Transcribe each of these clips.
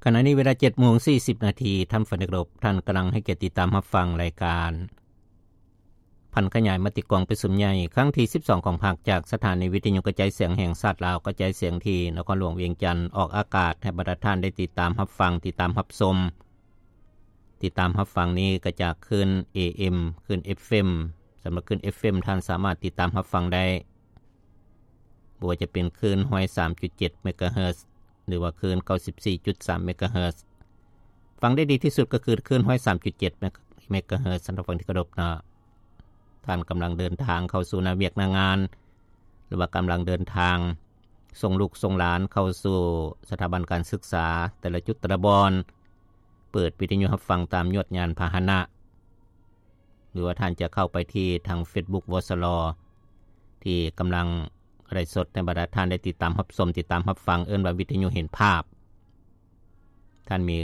ຂະນະນີ້ເວລາເຈັດໂມງສີ່ສິບນາທີ ທ່ານຟັງທີ່ເຄົາລົບ, ທ່ານກຳລັງໃຫ້ກຽດຕິດຕາມຮັບຟັງລາຍການຜັນຂະຫຍາຍມະຕິກອງປະຊຸມໃຫຍ່ຄັ້ງທີສິບສອງຂອງພັກ ຈາກສະຖານີວິທະຍຸກະຈາຍສຽງແຫ່ງຊາດລາວ ກະຈາຍສຽງທີ່ນະຄອນຫຼວງວຽງຈັນ ອອກອາກາດໃຫ້ບັນດາທ່ານໄດ້ຕິດຕາມຮັບຟັງ, ຕິດຕາມຮັບຊົມ. ຕິດຕາມຮັບຟັງນີ້ກະຈາກຄື້ນ ເອເອັມ, ຄື້ນ ເອັຟເອັມ. ສຳລັບຄື້ນ ເອັຟເອັມ ທ່ານສາມາດຕິດຕາມຮັບຟັງໄດ້ ບໍ່ວ່າຈະເປັນຄື້ນຮ້ອຍສາມຈຸດເຈັດເມກາເຮີດ ຫຼືວ່າຄື້ນເກົ້າສິບສີ່ຈຸດສາມເມກາເຮີດ. ຟັງໄດ້ດີທີ່ສຸດກໍຄືຄື້ນຮ້ອຍສາມຈຸດເຈັດເມກາເຮີດ. ທ່ານຜູ້ຟັງທີ່ເຄົາລົບເນາະ, ທ່ານກຳລັງເດີນທາງເຂົ້າສູ່ໜ້າວຽກໜ້າງານ ຫຼືວ່າກຳລັງເດີນທາງສົ່ງລູກສົ່ງຫຼານເຂົ້າສູ່ສະຖາບັນການສຶກສາແຕ່ລະຈຸດແຕ່ລະບ່ອນ, ເປີດວິທະຍຸຮັບຟັງຕາມຍວດຍານພາຫະນະ ຫຼືວ່າທ່ານຈະເຂົ້າໄປທີ່ທາງເຟສບຸກ ວສລ ທີ່ກຳລັງໄລຟ໌ສົດໃຫ້ບັນດາທ່ານໄດ້ຕິດຕາມຮັບຊົມ, ຕິດຕາມຮັບຟັງ, ເອີ້ນວ່າວິທະຍຸເຫັນພາບ. ທ່ານມີ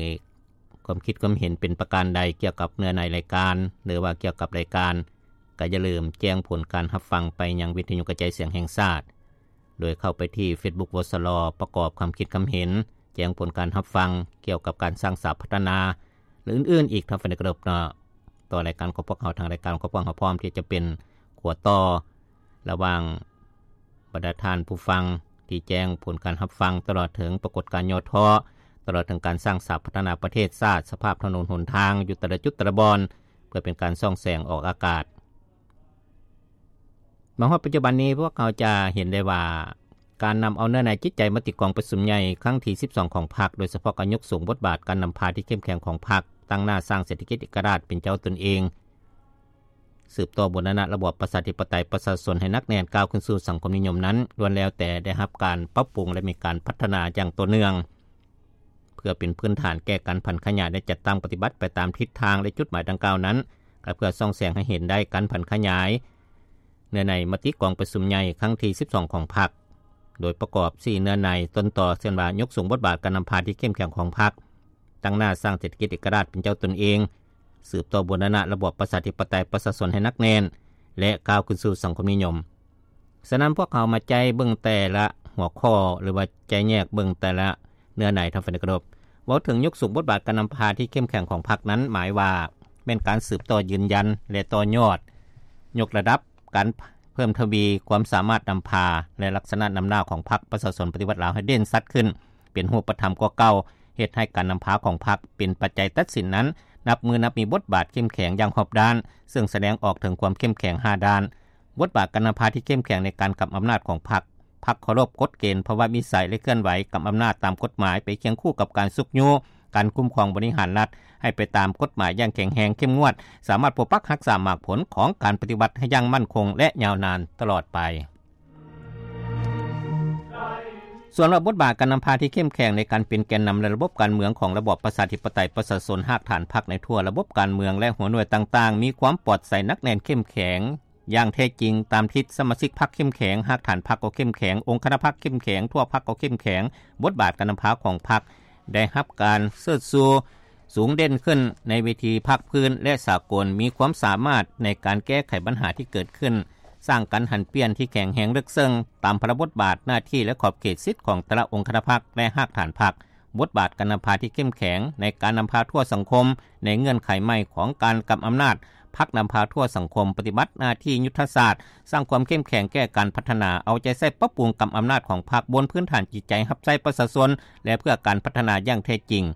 ຄວາມຄິດຄວາມເຫັນເປັນປະການໃດກ່ຽວກັບເນື້ອໃນລາຍການ ຫຼືວ່າກ່ຽວກັບລາຍການ, ກໍຢ່າລືມແຈ້ງຜົນການຮັບຟັງໄປຍັງວິທະຍຸກະຈາຍສຽງແຫ່ງຊາດ ໂດຍເຂົ້າໄປທີ່ເຟສບຸກ ວສລ ປະກອບຄຳຄິດຄຳເຫັນ, ແຈ້ງຜົນການຮັບຟັງກ່ຽວກັບການສ້າງສາພັດທະນາ ແລະ ອື່ນໆອີກ ທ່ານຜູ້ຟັງທີ່ເຄົາລົບເນາະ. ຕໍ່ລາຍການຂອງພວກເຮົາ, ທາງລາຍການຂອງພວກເຮົາພ້ອມທີ່ຈະເປັນຂົວຕໍ່ລະຫວ່າງບັນດາທ່ານຜູ້ຟັງທີ່ແຈ້ງຜົນການຮັບຟັງ, ຕະຫຼອດເຖິງປາກົດການຫຍໍ້ທໍ້, ຕະຫຼອດເຖິງການສ້າງສາພັດທະນາປະເທດຊາດ, ສະພາບຖະໜົນຫົນທາງຢູ່ແຕ່ລະຈຸດແຕ່ລະບ່ອນ ເພື່ອເປັນການສ່ອງແສງອອກອາກາດ. ມາຮອດປັດຈຸບັນນີ້ ພວກເຮົາຈະເຫັນໄດ້ວ່າ ການນຳເອົາເນື້ອໃນຈິດໃຈມະຕິກອງປະຊຸມໃຫຍ່ຄັ້ງທີສິບສອງຂອງພັກ, ໂດຍສະເພາະການຍົກສູງບົດບາດການນຳພາທີ່ເຂັ້ມແຂງຂອງພັກ, ຕັ້ງໜ້າສ້າງເສດຖະກິດເອກະລາດເປັນເຈົ້າຕົນເອງ, ສືບຕໍ່ບູລະນະລະບອບປະຊາທິປະໄຕປະຊາຊົນໃຫ້ໜັກແໜ້ນ ກ້າວຂຶ້ນສູ່ສັງຄົມນິຍົມນັ້ນ ລ້ວນແລ້ວແຕ່ໄດ້ຮັບການປັບປຸງ ແລະ ມີການພັດທະນາຢ່າງຕໍ່ເນື່ອງ. ເພື່ອເປັນພື້ນຖານແກ່ການຜັນຂະຫຍາຍ ແລະ ຈັດຕັ້ງປະຕິບັດໄປຕາມທິດທາງ ແລະ ຈຸດໝາຍດັ່ງກ່າວນັ້ນ, ກໍເພື່ອສ່ອງແສງໃຫ້ເຫັນໄດ້ການຜັນຂະຫຍາຍເນື້ອໃນມະຕິກອງປະຊຸມໃຫຍ່ຄັ້ງທີສິບສອງຂອງພັກ, ໂດຍປະກອບສີ່ເນື້ອໃນຕົ້ນຕໍ, ເຊັ່ນວ່າ ຍົກສູງບົດບາດການນຳພາທີ່ເຂັ້ມແຂງຂອງພັກ, ຕັ້ງໜ້າສ້າງເສດຖະກິດເອກະລາດເປັນເຈົ້າຕົນເອງ, ສືບຕໍ່ບູລະນະລະບອບປະຊາທິປະໄຕປະຊາຊົນໃຫ້ໜັກແໜ້ນ ແລະ ກ້າວຂຶ້ນສູ່ສັງຄົມນິຍົມ. ສະນັ້ນ ພວກເຮົາມາໃຈເບິ່ງແຕ່ລະຫົວຂໍ້ ຫຼືວ່າໃຈແຍກເບິ່ງແຕ່ລະເນື້ອໃນ ທ່ານຜູ້ຟັງທີ່ເຄົາລົບ. ເວົ້າເຖິງຍົກສູງບົດບາດການນຳພາທີ່ເຂັ້ມແຂງຂອງພັກນັ້ນ ໝາຍວ່າແມ່ນການສືບຕໍ່ຢືນຢັນ ແລະ ຕໍ່ຍອດ ຍົກລະດັບການເພີ່ມທະວີຄວາມສາມາດນຳພາ ແລະ ລັກສະນະນຳໜ້າຂອງພັກປະຊາຊົນປະຕິວັດລາວໃຫ້ເດັ່ນຊັດຂຶ້ນ ເປັນຮູບປະທຳກວ່າເກົ່າ, ເຮັດໃຫ້ການນຳພາຂອງພັກເປັນປັດໄຈຕັດສິນນັ້ນ ນັບມື້ນັບມີບົດບາດເຂັ້ມແຂງຢ່າງຮອບດ້ານ, ເຊິ່ງສະແດງອອກເຖິງຄວາມເຂັ້ມແຂງຫ້າດ້ານ. ບົດບາດການນຳພາທີ່ເຂັ້ມແຂງໃນການກຳອຳນາດຂອງພັກ, ພັກເຄົາລົບກົດເກນພາວະວິໄສ ແລະ ເຄື່ອນໄຫວກຳອຳນາດຕາມກົດໝາຍ ໄປຄຽງຄູ່ກັບການຊຸກຍູ້ການຄຸ້ມຄອງບໍລິຫານລັດໃຫ້ໄປຕາມກົດໝາຍຢ່າງແຂງແຮງເຂັ້ມງວດ, ສາມາດປົກປັກຮັກສາໝາກຜົນຂອງການປະຕິວັດໃຫ້ຢ່າງໝັ້ນຄົງ ແລະ ຍາວນານຕະຫຼອດໄປ. ສ່ວນວ່າບົດບາດການນຳພາທີ່ເຂັ້ມແຂງໃນການເປັນແກນນຳ ແລະ ລະບົບການເມືອງຂອງລະບອບປະຊາທິປະໄຕປະຊາຊົນ, ຮາກຖານພັກໃນທົ່ວລະບົບການເມືອງ ແລະ ຫົວໜ່ວຍຕ່າງໆ ມີຄວາມປອດໃສໜັກແໜ້ນເຂັ້ມແຂງຢ່າງແທ້ຈິງ, ຕາມທິດສະມາຊິກພັກເຂັ້ມແຂງ, ຮາກຖານພັກກໍເຂັ້ມແຂງ, ອົງຄະນະພັກເຂັ້ມແຂງ, ທົ່ວພັກກໍເຂັ້ມແຂງ, ບົດບາດການນຳພາຂອງພັກໄດ້ຮັບການເຊີດຊູ ສູງເດັ່ນຂຶ້ນໃນເວທີພາກພື້ນ ແລະ ສາກົນ, ມີຄວາມສາມາດໃນການແກ້ໄຂບັນຫາທີ່ເກີດຂຶ້ນ, ສ້າງການຫັນປ່ຽນທີ່ແຂງແຮງເລິກເຊິ່ງຕາມພາລະບົດບາດ, ໜ້າທີ່ ແລະ ຂອບເຂດສິດຂອງແຕ່ລະອົງຄະນະພັກ ແລະ ຮາກຖານພັກ, ບົດບາດການນຳພາທີ່ເຂັ້ມແຂງໃນການນຳພາທົ່ວສັງຄົມໃນເງື່ອນໄຂໃໝ່ຂອງການກຳອຳນາດ, ພັກນຳພາທົ່ວສັງຄົມປະຕິບັດໜ້າທີ່ຍຸດທະສາດ, ສ້າງຄວາມເຂັ້ມແຂງແກ່ການພັດທະນາ, ເອົາໃຈໃສ່ປັບປຸງກຳອຳນາດຂອງພັກບົນພື້ນຖານຈິດໃຈຮັບໃຊ້ປະຊາຊົນ ແລະ ເພື່ອການພັດທະນາຢ່າງແທ້ຈິງ.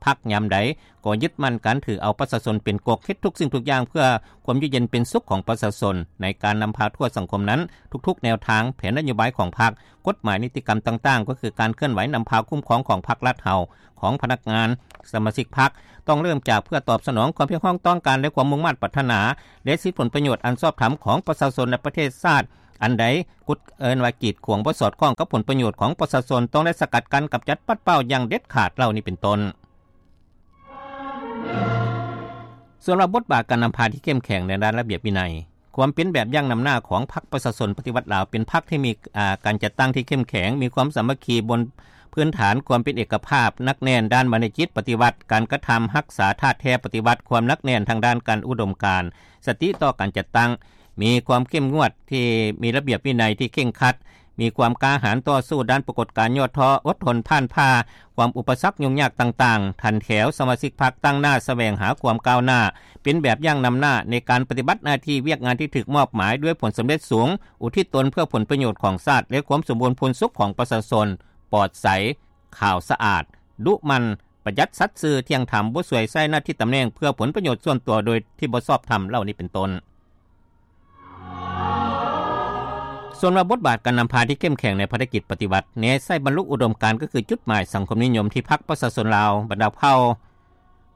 ພັກຍາມໃດກໍຍຶດໝັ້ນການຖືເອົາປະຊາຊົນເປັນກົກ, ເຮັດທຸກສິ່ງທຸກຢ່າງເພື່ອຄວາມຢູ່ເຢັນເປັນສຸກຂອງປະຊາຊົນ. ໃນການນຳພາທົ່ວສັງຄົມນັ້ນ, ທຸກໆແນວທາງ, ແຜນນະໂຍບາຍຂອງພັກ, ກົດໝາຍ, ນິຕິກຳຕ່າງໆ, ກໍຄືການເຄື່ອນໄຫວນຳພາຄຸ້ມຄອງຂອງພັກລັດເຮົາ, ຂອງພະນັກງານ, ສະມາຊິກພັກ, ຕ້ອງເລີ່ມຈາກເພື່ອຕອບສະໜອງຄວາມຮຽກຮ້ອງຕ້ອງການ ແລະ ຄວາມມຸ່ງມາດປາດຖະໜາ ແລະ ສິດຜົນປະໂຫຍດອັນຊອບທຳຂອງປະຊາຊົນ ແລະ ປະເທດຊາດ. ອັນໃດ ກົດ ເອີ້ນວ່າກີດຂວາງບໍ່ສອດຄ່ອງກັບຜົນປະໂຫຍດຂອງປະຊາຊົນ ຕ້ອງໄດ້ສະກັດກັ້ນ, ກຳຈັດ, ປັດເປົ່າຢ່າງເດັດຂາດເຫຼົ່ານີ້ເປັນຕົ້ນ. ສ່ວນວ່າບົດບາດການນຳພາທີ່ເຂັ້ມແຂງໃນດ້ານລະບຽບວິໄນ, ຄວາມເປັນແບບຢ່າງນຳໜ້າຂອງພັກປະຊາຊົນປະຕິວັດລາວ ເປັນພັກທີ່ມີ ອາ ການຈັດຕັ້ງທີ່ເຂັ້ມແຂງ, ມີຄວາມສາມັກຄີບົນພື້ນຖານຄວາມເປັນເອກະພາບ, ໜັກແໜ້ນດ້ານມານະຈິດປະຕິວັດ, ການກະທຳຮັກສາທາດແທ້ປະຕິວັດ, ຄວາມໜັກແໜ້ນທາງດ້ານການອຸດົມການ, ສະຕິຕໍ່ການຈັດຕັ້ງ, ມີຄວາມເຂັ້ມງວດທີ່ມີລະບຽບວິໄນທີ່ເຄັ່ງຄັດ, ມີຄວາມກ້າຫານຕໍ່ສູ້ດ້ານປາກົດການຫຍໍ້ທໍ້, ອົດທົນຜ່ານຜ່າຄວາມອຸປະສັກຫຍຸ້ງຍາກຕ່າງໆ. ຖັນແຖວສະມາຊິກພັກຕັ້ງໜ້າສະແຫວງຫາຄວາມກ້າວໜ້າ, ເປັນແບບຢ່າງນຳໜ້າໃນການປະຕິບັດໜ້າທີ່ວຽກງານທີ່ຖືກມອບໝາຍດ້ວຍຜົນສຳເລັດສູງ, ອຸທິດຕົນເພື່ອຜົນປະໂຫຍດຂອງຊາດ ແລະ ຄວາມສົມບູນພູນສຸກຂອງປະຊາຊົນ, ປອດໃສ, ຂາວສະອາດ, ດຸໝັ່ນ, ປະຢັດສັດຊື່, ທ່ຽງທຳ, ບໍ່ສວຍໃຊ້ໜ້າທີ່ຕຳແໜ່ງເພື່ອຜົນປະໂຫຍດສ່ວນຕົວໂດຍທີ່ບໍ່ຊອບທຳເຫຼົ່ານີ້ເປັນຕົ້ນ. ສ່ວນວ່າບົດບາດການນຳພາທີ່ເຂັ້ມແຂງໃນພາລະກິດປະຕິວັດ ແນໃສ່ບັນລຸອຸດົມການ ກໍຄືຈຸດໝາຍສັງຄົມນິຍົມທີ່ພັກປະຊາຊົນລາວບັນດາເຜົ່າ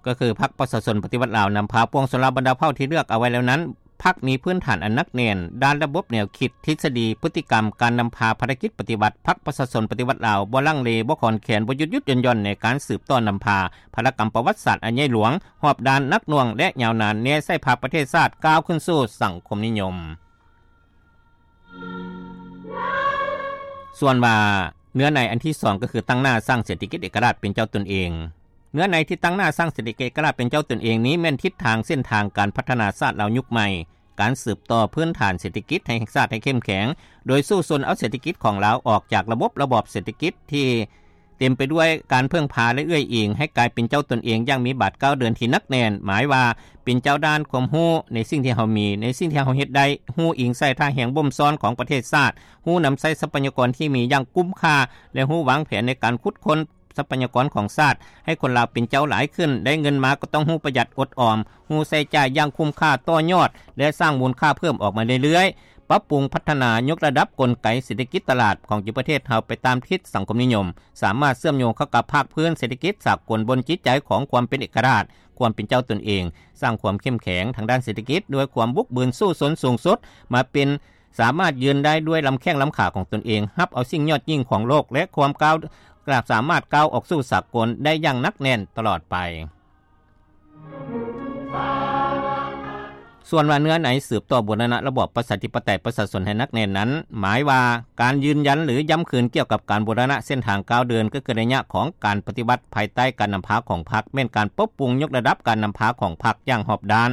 ກໍຄືພັກປະຊາຊົນປະຕິວັດລາວນຳພາປວງຊົນລາວບັນດາເຜົ່າທີ່ເລືອກເອົາໄວ້ແລ້ວນັ້ນ ພັກມີພື້ນຖານອັນໜັກແໜ້ນດ້ານລະບົບແນວຄິດ, ທິດສະດີ, ພຶດຕິກຳ, ການນຳພາພາລະກິດປະຕິວັດ. ພັກປະຊາຊົນປະຕິວັດລາວບໍ່ລັງເລ, ບໍ່ຄອນແຄນ, ບໍ່ຢຸດໆຢ່ອນໆ ໃນການສືບຕໍ່ນຳພາພາລະກຳປະຫວັດສາດອັນໃຫຍ່ຫຼວງ, ຮອບດ້ານ, ໜັກໜ່ວງ ແລະ ຍາວນານ ແນໃສ່ພາປະເທດຊາດກ້າວຂຶ້ນສູ່ສັງຄົມນິຍົມ. ສ່ວນວ່າເນື້ອໃນອັນທີສອງ ກໍຄືຕັ້ງໜ້າສ້າງເສດຖະກິດເອກະລາດເປັນເຈົ້າຕົນເອງ. ເນື້ອໃນທີ່ຕັ້ງໜ້າສ້າງເສດຖະກິດເອກະລາດເປັນເຈົ້າຕົນເອງນີ້ ແມ່ນທິດທາງເສັ້ນທາງການພັດທະນາຊາດລາວຍຸກໃໝ່, ການສືບຕໍ່ພື້ນຖານເສດຖະກິດໃຫ້ແຫ່ງຊາດໃຫ້ເຂັ້ມແຂງ, ໂດຍສູ້ຊົນເອົາເສດຖະກິດຂອງລາວອອກຈາກລະບົບລະບອບເສດຖະກິດທີ່ ເຕັມໄປດ້ວຍການເພິ່ງພາ ແລະ ເອື້ອຍອີງໃຫ້ກາຍເປັນເຈົ້າຕົນເອງຢ່າງມີບາດກ້າວເດີນທີ່ໜັກແໜ້ນ, ໝາຍວ່າເປັນເຈົ້າດ້ານຄວາມຮູ້ໃນສິ່ງທີ່ເຮົາມີ, ໃນສິ່ງທີ່ເຮົາເຮັດໄດ້, ຮູ້ອີງໃສ່ທ່າແຮງບົ່ມຊ້ອນຂອງປະເທດຊາດ, ຮູ້ນຳໃຊ້ຊັບພະຍາກອນທີ່ມີຢ່າງຄຸ້ມຄ່າ ແລະ ຮູ້ວາງແຜນໃນການຂຸດຄົ້ນຊັບພະຍາກອນຂອງຊາດ, ໃຫ້ຄົນລາວເປັນເຈົ້າຫຼາຍຂຶ້ນ, ໄດ້ເງິນມາກໍຕ້ອງຮູ້ປະຢັດອົດອອມ, ຮູ້ໃຊ້ຈ່າຍຢ່າງຄຸ້ມຄ່າ, ຕໍ່ຍອດ ແລະ ສ້າງມູນຄ່າເພີ່ມອອກມາເລື້ອຍໆ. ປັບປຸງພັດທະນາຍົກລະດັບກົນໄກເສດຖະກິດຕະຫຼາດຂອງປະເທດເຮົາໄປຕາມທິດສັງຄົມນິຍົມ, ສາມາດເຊື່ອມໂຍງເຂົ້າກັບພາກພື້ນເສດຖະກິດສາກົນບົນຈິດໃຈຂອງຄວາມເປັນເອກະລາດ, ຄວາມເປັນເຈົ້າຕົນເອງ, ສ້າງຄວາມເຂັ້ມແຂງທາງດ້ານເສດຖະກິດດ້ວຍຄວາມບຸກບືນສູ້ຊົນສູງສຸດ, ມາເປັນ ສາມາດຢືນໄດ້ດ້ວຍລຳແຂ້ງລຳຂາຂອງຕົນເອງ, ຮັບເອົາສິ່ງຍອດຍິ່ງຂອງໂລກ ແລະ ຄວາມກ້າວ ສາມາດກ້າວອອກສູ່ສາກົນໄດ້ຢ່າງໜັກແໜ້ນຕະຫຼອດໄປ. ສ່ວນວ່າເນື້ອໃນສືບຕໍ່ບູລະນະລະບອບປະຊາທິປະໄຕປະຊາຊົນໃຫ້ໜັກແໜ້ນນັ້ນ ໝາຍວ່າການຢືນຢັນ ຫຼື ຢ້ຳຄືນກ່ຽວກັບການບູລະນະເສັ້ນທາງກ້າວເດີນ ກໍຄືໄລຍະຂອງການປະຕິວັດພາຍໃຕ້ການນຳພາຂອງພັກ ແມ່ນການປັບປຸງຍົກລະດັບການນຳພາຂອງພັກຢ່າງຮອບດ້ານ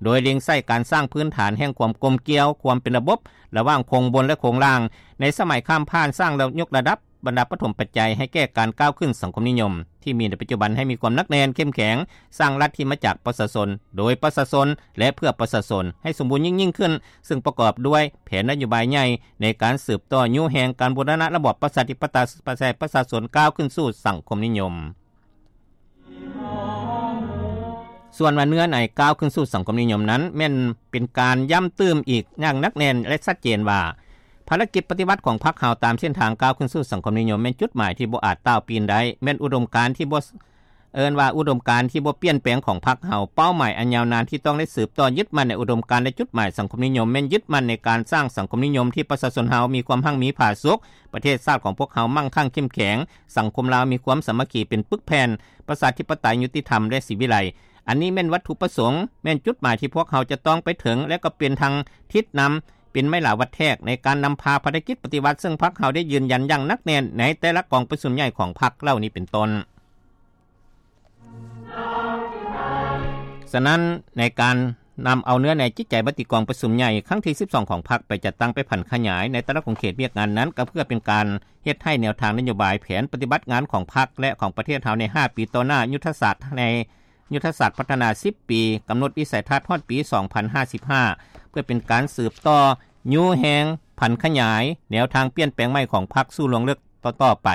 ໂດຍເລັງໃສ່ການສ້າງພື້ນຖານແຫ່ງຄວາມກົມກ່ຽວ, ຄວາມເປັນລະບົບ ລະຫວ່າງໂຄງບົນ ແລະ ໂຄງລ່າງ. ໃນສະໄໝຂ້າມຜ່ານ ສ້າງແລະຍົກລະດັບ ບັນດາປະຖົມປັດໄຈໃຫ້ແກ່ການກ້າວຂຶ້ນສັງຄົມນິຍົມທີ່ມີໃນປັດຈຸບັນໃຫ້ມີຄວາມໜັກແໜ້ນເຂັ້ມແຂງ, ສ້າງລັດທີ່ມາຈາກປະຊາຊົນ, ໂດຍປະຊາຊົນ ແລະ ເພື່ອປະຊາຊົນ ໃຫ້ສົມບູນຍິ່ງໆຂຶ້ນ, ເຊິ່ງປະກອບດ້ວຍແຜນນະໂຍບາຍໃຫຍ່ໃນການສືບຕໍ່ຍູ້ແຮງການບູລະນະລະບອບປະຊາທິປະໄຕປະຊາຊົນ ກ້າວຂຶ້ນສູ່ສັງຄົມນິຍົມ. ສ່ວນວ່າເນື້ອໃນກ້າວຂຶ້ນສູ່ສັງຄົມນິຍົມນັ້ນ ແມ່ນເປັນການຢ້ຳຕື່ມອີກຢ່າງໜັກແໜ້ນ ແລະ ຊັດເຈນວ່າ ພາລະກິດປະຕິວັດຂອງພັກເຮົາຕາມເສັ້ນທາງກ້າວຂຶ້ນສູ່ສັງຄົມນິຍົມ ແມ່ນຈຸດໝາຍທີ່ບໍ່ອາດຕ່າວປີນໄດ້, ແມ່ນອຸດົມການທີ່ບໍ່ ເອີ້ນວ່າອຸດົມການທີ່ບໍ່ປ່ຽນແປງຂອງພັກເຮົາ, ເປົ້າໝາຍອັນຍາວນານທີ່ຕ້ອງໄດ້ສືບຕໍ່ຍຶດໝັ້ນໃນອຸດົມການ ແລະ ຈຸດໝາຍສັງຄົມນິຍົມ, ແມ່ນຍຶດໝັ້ນໃນການສ້າງສັງຄົມນິຍົມທີ່ປະຊາຊົນເຮົາມີຄວາມຮັ່ງມີຜາສຸກ, ປະເທດຊາດຂອງພວກເຮົາໝັ້ງຄັ່ງເຂັ້ມແຂງ, ສັງຄົມລາວມີຄວາມສາມັກຄີເປັນປຶກແຜ່ນ, ປະຊາທິປະໄຕຍຸຕິທຳ ແລະ ສີວິໄລ. ອັນນີ້ແມ່ນວັດຖຸປະສົງ, ແມ່ນຈຸດໝາຍທີ່ພວກເຮົາຈະຕ້ອງໄປເຖິງ ແລະ ກໍເປັນທາງທິດນຳ, ເປັນໄມ້ລາວັດແທກໃນການນຳພາພາລະກິດປະຕິວັດ ເຊິ່ງພັກເຮົາໄດ້ຢືນຢັນຢ່າງໜັກແໜ້ນໃນແຕ່ລະກອງປະຊຸມໃຫຍ່ຂອງພັກເຫຼົ່ານີ້ເປັນຕົ້ນ. ສະນັ້ນ, ໃນການນຳເອົາເນື້ອໃນຈິດໃຈມະຕິກອງປະຊຸມໃຫຍ່ຄັ້ງທີສິບສອງຂອງພັກໄປຈັດຕັ້ງ, ໄປຜັນຂະຫຍາຍໃນແຕ່ລະຂົງເຂດວຽກງານນັ້ນ, ກໍເພື່ອເປັນການເຮັດໃຫ້ແນວທາງນະໂຍບາຍ, ແຜນປະຕິບັດງານຂອງພັກ ແລະ ຂອງປະເທດເຮົາໃນຫ້າປີຕໍ່ໜ້າ, ຍຸດທະສາດໃນ ຍຸດທະສາດພັດທະນາສິບປີ, ກຳນົດວິໄສທັດຮອດປີສອງພັນຫ້າສິບຫ້າ ເພື່ອເປັນການສືບຕໍ່ຍູ້ແຮງ, ຜັນຂະຫຍາຍແນວທາງປ່ຽນແປງໃໝ່ຂອງພັກສູ່ລວງເລິກຕໍ່ໆໄປ,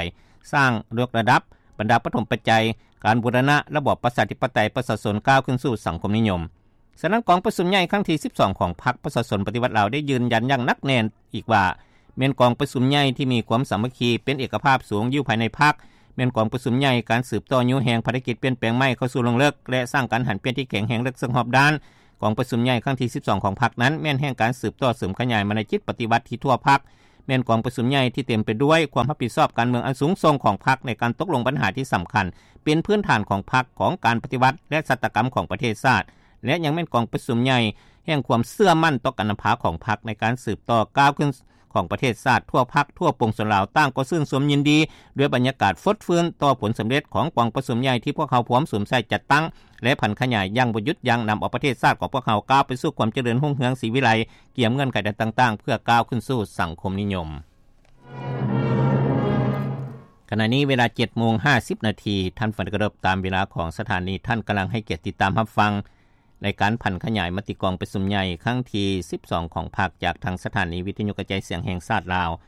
ສ້າງຍົກລະດັບບັນດາປະຖົມປັດໄຈການບູລະນະລະບອບປະຊາທິປະໄຕປະຊາຊົນ ກ້າວຂຶ້ນສູ່ສັງຄົມນິຍົມ. ສະນັ້ນ, ກອງປະຊຸມໃຫຍ່ຄັ້ງທີສິບສອງຂອງພັກປະຊາຊົນປະຕິວັດລາວ ໄດ້ຢືນຢັນຢ່າງໜັກແໜ້ນອີກວ່າ ແມ່ນກອງປະຊຸມໃຫຍ່ທີ່ມີຄວາມສາມັກຄີ, ເປັນເອກະພາບສູງຢູ່ພາຍໃນພັກ, ແມ່ນກອງປະຊຸມໃຫຍ່ການສືບຕໍ່ຍູ້ແຮງພາລະກິດປ່ຽນແປງໃໝ່ເຂົ້າສູ່ລວງເລິກ ແລະ ສ້າງການຫັນປ່ຽນທີ່ແຂງແຮງເລິກເຊິ່ງຮອບດ້ານ. ກອງປະຊຸມໃຫຍ່ຄັ້ງທີສິບສອງຂອງພັກນັ້ນ ແມ່ນແຫ່ງການສືບຕໍ່ເສີມຂະຫຍາຍມານະຈິດປະຕິວັດທີ່ທົ່ວພັກ, ແມ່ນກອງປະຊຸມໃຫຍ່ທີ່ເຕັມໄປດ້ວຍຄວາມຮັບຜິດຊອບການເມືອງອັນສູງສົ່ງຂອງພັກໃນການຕົກລົງບັນຫາທີ່ສຳຄັນ, ເປັນພື້ນຖານຂອງພັກ, ຂອງການປະຕິວັດ ແລະ ຊາດຕະກຳຂອງປະເທດຊາດ ແລະ ຍັງແມ່ນກອງປະຊຸມໃຫຍ່ແຫ່ງຄວາມເຊື່ອໝັ້ນຕໍ່ການນຳພາຂອງພັກໃນການສືບຕໍ່ກ້າວຂຶ້ນ ຂອງປະເທດຊາດ. ທົ່ວພັກ, ທົ່ວປວງຊົນລາວ ຕ່າງກໍຊື່ນຊົມຍິນດີດ້ວຍບັນຍາກາດຟົດຟື້ນຕໍ່ຜົນສຳເລັດຂອງກອງປະຊຸມໃຫຍ່ທີ່ພວກເຮົາພວມສຸມໃສ່ຈັດຕັ້ງ ແລະ ຜັນຂະຫຍາຍຢ່າງບໍ່ຢຸດຢັ້ງ, ນຳເອົາປະເທດຊາດຂອງພວກເຮົາກ້າວໄປສູ່ຄວາມຈະເລີນຮຸ່ງເຮືອງສີວິໄລ, ກຽມເງື່ອນໄຂຕ່າງໆ ເພື່ອກ້າວຂຶ້ນສູ່ສັງຄົມນິຍົມ. ຂະນະນີ້ເວລາເຈັດໂມງຫ້າສິບນາທີ, ທ່ານຟັງທີ່ເຄົາລົບ, ຕາມເວລາຂອງສະຖານີ. ທ່ານກຳລັງໃຫ້ກຽດຕິດຕາມຮັບຟັງ ລາຍການຜັນຂະຫຍາຍມະຕິກອງປະຊຸມໃຫຍ່ຄັ້ງທີສິບສອງຂອງພັກ ຈາກທາງສະຖານີວິທະຍຸກະຈາຍສຽງແຫ່ງຊາດລາວ.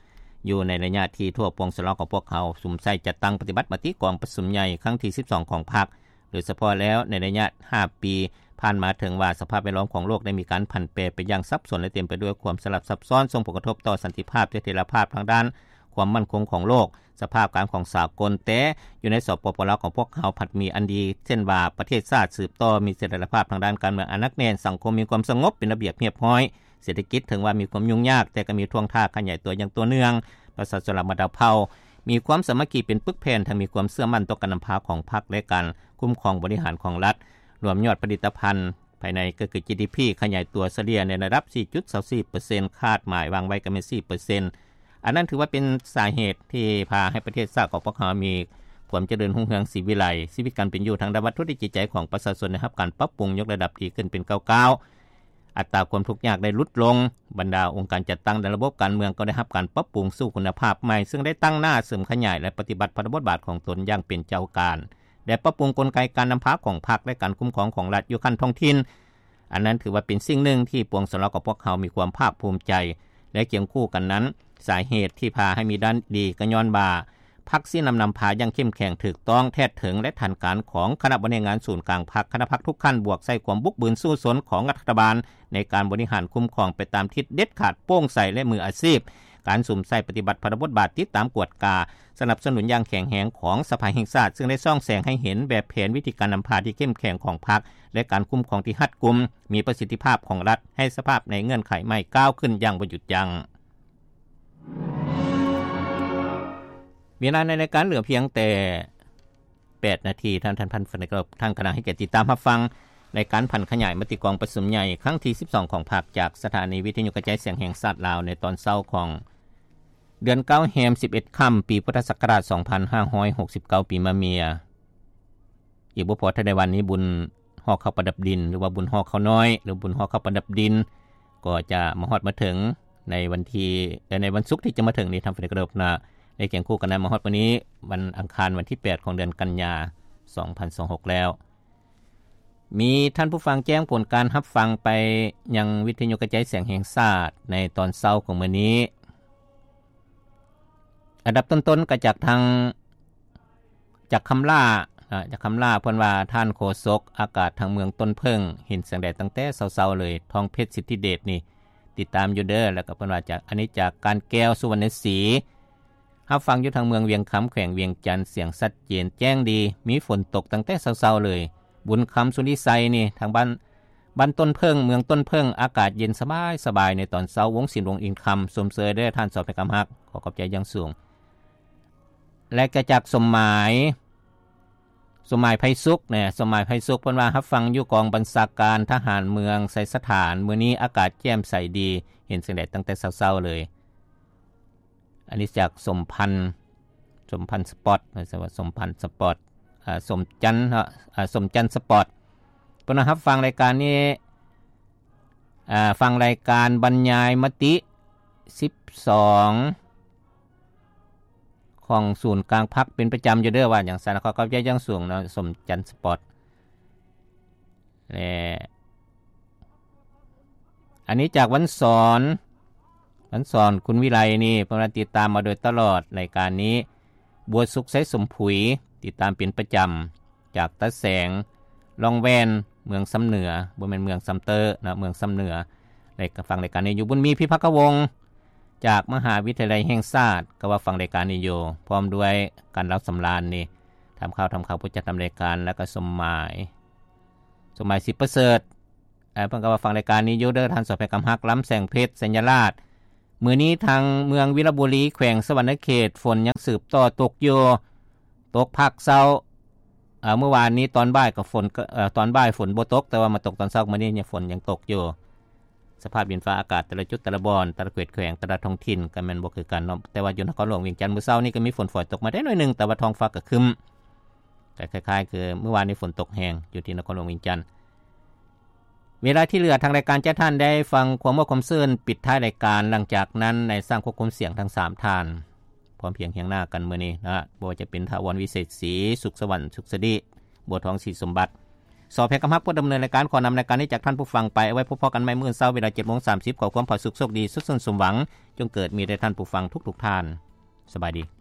ຢູ່ໃນໄລຍະທີ່ທົ່ວປວງຊົນລາວຂອງພວກເຮົາສຸມໃສ່ຈັດຕັ້ງປະຕິບັດມະຕິກອງປະຊຸມໃຫຍ່ຄັ້ງທີສິບສອງຂອງພັກ, ໂດຍສະເພາະແລ້ວໃນໄລຍະຫ້າປີຜ່ານມາ, ເຖິງວ່າສະພາບແວດລ້ອມຂອງໂລກໄດ້ມີການຜັນແປໄປຢ່າງສັບສົນ ແລະ ເຕັມໄປດ້ວຍຄວາມສະຫຼັບຊັບຊ້ອນ, ສົ່ງຜົນກະທົບຕໍ່ສັນຕິພາບ, ສະຖຽນລະພາບທາງດ້ານຄວາມໝັ້ນຄົງຂອງໂລກ, ສະພາບການຂອງສາກົນ, ແຕ່ຢູ່ໃນ ສປປ ລາວ ຂອງພວກເຮົາພັດມີອັນດີ ເຊັ່ນວ່າ ປະເທດຊາດສືບຕໍ່ມີສະຖຽນລະພາບທາງດ້ານການເມືອງອັນໜັກແໜ້ນ, ສັງຄົມມີຄວາມສະຫງົບເປັນລະບຽບຮຽບຮ້ອຍ, ເສດຖະກິດເຖິງວ່າມີຄວາມຫຍຸ້ງຍາກ, ແຕ່ກໍມີທ່ວງທ່າຂະຫຍາຍຕົວຢ່າງຕໍ່ເນື່ອງ, ປະຊາຊົນລະດັບເຜົ່າມີຄວາມສາມັກຄີເປັນປຶກແຜ່ນ, ທັງມີຄວາມເຊື່ອໝັ້ນຕໍ່ການນຳພາຂອງພັກ ແລະ ການຄຸ້ມຄອງບໍລິຫານຂອງລັດ, ລວມຍອດຜະລິດຕະພັນພາຍໃນ ກໍຄື ຈີດີພີ ຂະຫຍາຍຕົວສະເລ່ຍໃນລະດັບສີ່ຈຸດສອງສີ່ເປີເຊັນ, ຄາດໝາຍວາງໄວ້ກໍແມ່ນສີ່ເປີເຊັນ. ອັນນັ້ນຖືວ່າເປັນສາເຫດທີ່ພາໃຫ້ປະເທດຊາດຂອງພວກເຮົາມີຄວາມຈະເລີນຮຸ່ງເຮືອງສີວິໄລ, ຊີວິດການເປັນຢູ່ທາງດ້ານວັດຖຸ ແລະ ຈິດໃຈຂອງປະຊາຊົນໄດ້ຮັບການປັບປຸງຍົກລະດັບດີຂຶ້ນເປັນກ້າວໆ, ອັດຕາຄວາມທຸກຍາກໄດ້ຫຼຸດລົງ, ບັນດາອົງການຈັດຕັ້ງໃນລະບົບການເມືອງກໍໄດ້ຮັບການປັບປຸງສູ່ຄຸນນະພາບໃໝ່, ເຊິ່ງໄດ້ຕັ້ງໜ້າເສີມຂະຫຍາຍ ແລະ ປະຕິບັດພາລະບົດບາດຂອງຕົນຢ່າງເປັນເຈົ້າການ ແລະ ປັບປຸງກົນໄກການນຳພາຂອງພັກ ແລະ ການຄຸ້ມຄອງຂອງລັດຢູ່ຂັ້ນທ້ອງຖິ່ນ. ອັນນັ້ນຖືວ່າເປັນສິ່ງໜຶ່ງທີ່ປວງຊົນລາວຂອງພວກເຮົາມີຄວາມພາກພູມໃຈ ແລະ ຄຽງຄູ່ກັນນັ້ນ, ສາເຫດທີ່ພາໃຫ້ມີດ້ານດີກໍຍ້ອນວ່າ ພັກຊີ້ນຳນຳພາຢ່າງເຂັ້ມແຂງ, ຖືກຕ້ອງ, ແທດເຖິງ ແລະ ທັນການຂອງຄະນະບໍລິຫານງານສູນກາງພັກ, ຄະນະພັກທຸກຂັ້ນ, ບວກໃສ່ຄວາມບຸກບືນສູ້ຊົນຂອງລັດຖະບານໃນການບໍລິຫານຄຸ້ມຄອງໄປຕາມທິດເດັດຂາດ, ໂປ່ງໃສ ແລະ ມືອາຊີບ, ການສຸມໃສ່ປະຕິບັດພາລະບົດບາດ, ຕິດຕາມກວດກາ, ສະໜັບສະໜູນຢ່າງແຂງແຮງຂອງສະພາແຫ່ງຊາດ, ເຊິ່ງໄດ້ສ່ອງແສງໃຫ້ເຫັນແບບແຜນວິທີການນຳພາທີ່ເຂັ້ມແຂງຂອງພັກ ແລະ ການຄຸ້ມຄອງທີ່ຮັດກຸມ, ມີປະສິດທິພາບຂອງລັດ, ໃຫ້ສະພາບໃນເງື່ອນໄຂໃໝ່ກ້າວຂຶ້ນຢ່າງບໍ່ຢຸດຢັ້ງ. ເວລາໃນລາຍການເຫຼືອພຽງແຕ່ແປດນາທີ, ທ່ານ ທ່ານ ທ່ານ ທ່ານກຳລັງໃຫ້ກຽດຕິດຕາມຮັບຟັງລາຍການຜັນຂະຫຍາຍມະຕິກອງປະຊຸມໃຫຍ່ຄັ້ງທີສິບສອງຂອງພັກ ຈາກສະຖານີວິທະຍຸກະຈາຍສຽງແຫ່ງຊາດລາວ ໃນຕອນເຊົ້າຂອງເດືອນເກົ້າແຮມສິບເອັດຄ່ຳ ປີພຸດທະສັກກະລາດສອງພັນຫ້າຮ້ອຍຫົກສິບເກົ້າ ປີມະເມຍ. ອີກບໍ່ພໍ ທັນໃນວັນນີ້ ບຸນຫໍ່ເຂົ້າປະດັບດິນ ຫຼືວ່າບຸນຫໍ່ເຂົ້ານ້ອຍ ຫຼືບຸນຫໍ່ເຂົ້າປະດັບດິນ ກໍຈະມາຮອດມາເຖິງໃນວັນທີ ເອີ ໃນວັນສຸກທີ່ຈະມາເຖິງນີ້ ທ່ານຜູ້ໃດກໍໄດ້ນະ ໄດ້ຄຽງຄູ່ກັນນະ ມາຮອດມື້ນີ້ ວັນອັງຄານ ວັນທີແປດ ຂອງເດືອນກັນຍາ ສອງພັນຊາວຫົກແລ້ວ. ມີທ່ານຜູ້ຟັງແຈ້ງຜົນການຮັບຟັງໄປຍັງວິທະຍຸກະຈາຍສຽງແຫ່ງຊາດໃນຕອນເຊົ້າຂອງມື້ນີ້. ອັນດັບຕົ້ນໆ ກໍຈາກທາງ ຈາກຄຳຫຼ້າ ອາ ຈາກຄຳຫຼ້າ ເພິ່ນວ່າ ທ່ານໂຄສົກ ອາກາດທາງເມືອງຕົ້ນເຜິ້ງ ເຫັນແສງແດດຕັ້ງແຕ່ເຊົ້າໆເລີຍ. ທອງເພັດ ສິດທິເດດ ນີ້ຕິດຕາມຢູ່ເດີ. ແລ້ວກໍເພິ່ນວ່າ ຈາກ ອັນນີ້ຈາກການແກ້ວ ສຸວັນນະສີ ຮັບຟັງຢູ່ທາງເມືອງວຽງຄຳ ແຂວງວຽງຈັນ ສຽງຊັດເຈນແຈ້ງດີ ມີຝົນຕົກຕັ້ງແຕ່ເຊົ້າໆເລີຍ. ບຸນຄຳ ສຸລິໄຊ ນີ້ ທາງບ້ານ ບ້ານຕົ້ນເຜິ້ງ ເມືອງຕົ້ນເຜິ້ງ ອາກາດເຢັນສະບາຍໆໃນຕອນເຊົ້າ. ວົງສິນ ວົງອິນຄຳ ຊົມເຊີຍເດີທ່ານ ສອບໃຫ້ຄຳຮັກ ຂໍຂອບໃຈຢ່າງສູງ. ແລະ ກໍຈາກສົມໝາຍ ສົມໝາຍ ໄພສຸກ ແນະ ສົມໝາຍ ໄພສຸກ ເພິ່ນວ່າ ຮັບຟັງຢູ່ກອງບັນຊາການທະຫານເມືອງໄຊສະຖານ ມື້ນີ້ອາກາດແຈ່ມໃສດີ ເຫັນແສງແດດຕັ້ງແຕ່ເຊົ້າໆເລີຍ. ອັນນີ້ຈາກສົມພັນ ສົມພັນສະປອດ ສົມພັນສະປອດ ອາ ສົມຈັນ ເນາະ ອາ ສົມຈັນສະປອດ ເພິ່ນວ່າ ຮັບຟັງລາຍການນີ້ ອາ ຟັງລາຍການບັນຍາຍມະຕິສິບສອງ ຂອງສູນກາງພັກເປັນປະຈຳຢູ່ເດີ ວ່າຫຍັງຊັ້ນ. ຂໍຂອບໃຈຢ່າງສູງເນາະ ສົມຈັນສະປອດ. ແລະ ອັນນີ້ຈາກວັນສອນ ວັນສອນ ຄຸນວິໄລ ນີ້ ເພິ່ນວ່າຕິດຕາມມາໂດຍຕະຫຼອດລາຍການນີ້. ບົວສຸກ ໄຊສົມຜຸຍ ຕິດຕາມເປັນປະຈຳ ຈາກຕາແສງ ລ່ອງແວ່ນ ເມືອງຊຳເໜືອ ບໍ່ແມ່ນເມືອງຊຳເຕີນະ ເມືອງຊຳເໜືອ. ແລະ ກໍຟັງລາຍການນີ້ຢູ່. ບຸນມີ ພິພັກກະວົງ ຈາກມະຫາວິທະຍາໄລແຫ່ງຊາດ ກໍວ່າຟັງລາຍການນີ້ຢູ່ ພ້ອມດ້ວຍກັນ ລາວສຳລານ ນີ້ ຖາມຂ່າວ ຖາມຂ່າວ ຜູ້ຈັດນຳລາຍການ ແລ້ວກໍສົມໝາຍ ສົມໝາຍ ສິບປະເສີດ ເອີ ເພິ່ນກໍວ່າຟັງລາຍການນີ້ຢູ່ເດີ ທ່ານສອບໃຫ້ຄຳຮັກ ລຳແສງເພັດ ໄຊຍະລາດ. ມື້ນີ້ທາງເມືອງວິລະບູລີ ແຂວງສະຫວັນນະເຂດ ຝົນຍັງສືບຕໍ່ຕົກຢູ່ ຕົກພາກເຊົ້າ. ເອີ ມື້ວານນີ້ຕອນບ່າຍກໍຝົນ ເອີ ຕອນບ່າຍຝົນບໍ່ຕົກ ແຕ່ວ່າມາຕົກຕອນເຊົ້າ ມື້ນີ້ຍັງ ຝົນຍັງຕົກຢູ່. ສະພາບດິນຟ້າອາກາດແຕ່ລະຈຸດ ແຕ່ລະບ່ອນ ແຕ່ລະເຂດແຂວງ ແຕ່ລະທ້ອງຖິ່ນກໍແມ່ນບໍ່ຄືກັນເນາະ. ແຕ່ວ່າຢູ່ນະຄອນຫຼວງວຽງຈັນ ມື້ເຊົ້ານີ້ກໍມີຝົນຝອຍຕົກມາໄດ້ໜ້ອຍໜຶ່ງ ແຕ່ວ່າທ້ອງຟ້າກໍຄຶ້ມ ກໍຄ້າຍໆຄືມື້ວານນີ້ຝົນຕົກແຮງຢູ່ທີ່ນະຄອນຫຼວງວຽງຈັນ. ເວລາທີ່ເຫຼືອ ທາງລາຍການຈະໃຫ້ທ່ານໄດ້ຟັງຄວາມມ່ວນຄວາມຊື່ນປິດທ້າຍລາຍການ. ຫຼັງຈາກນັ້ນ ນາຍຊ່າງຄວບຄຸມສຽງທັງສາມທ່ານ ພ້ອມພຽງຮຽງໜ້າກັນມື້ນີ້ນະ ບໍ່ວ່າຈະເປັນ ຖາວອນ ວິເສດສີ, ສຸກສະຫວັນ ສຸກສະດີ, ບົວທອງ ສີສົມບັດ. ສອບແພງຄຳຮັກ ຜູ້ດຳເນີນລາຍການ ຂໍນຳລາຍການນີ້ຈາກທ່ານຜູ້ຟັງໄປ. ເອົາໄວ້ພົບພໍ້ກັນໃໝ່ມື້ເຊົ້າ ເວລາ ເຈັດໂມງສາມສິບ. ຂໍຄວາມຜາສຸກໂຊກດີ ສຸກເສີນສົມຫວັງ ຈົ່ງເກີດມີແດ່ທ່ານຜູ້ຟັງທຸກໆທ່ານ. ສະບາຍດີ.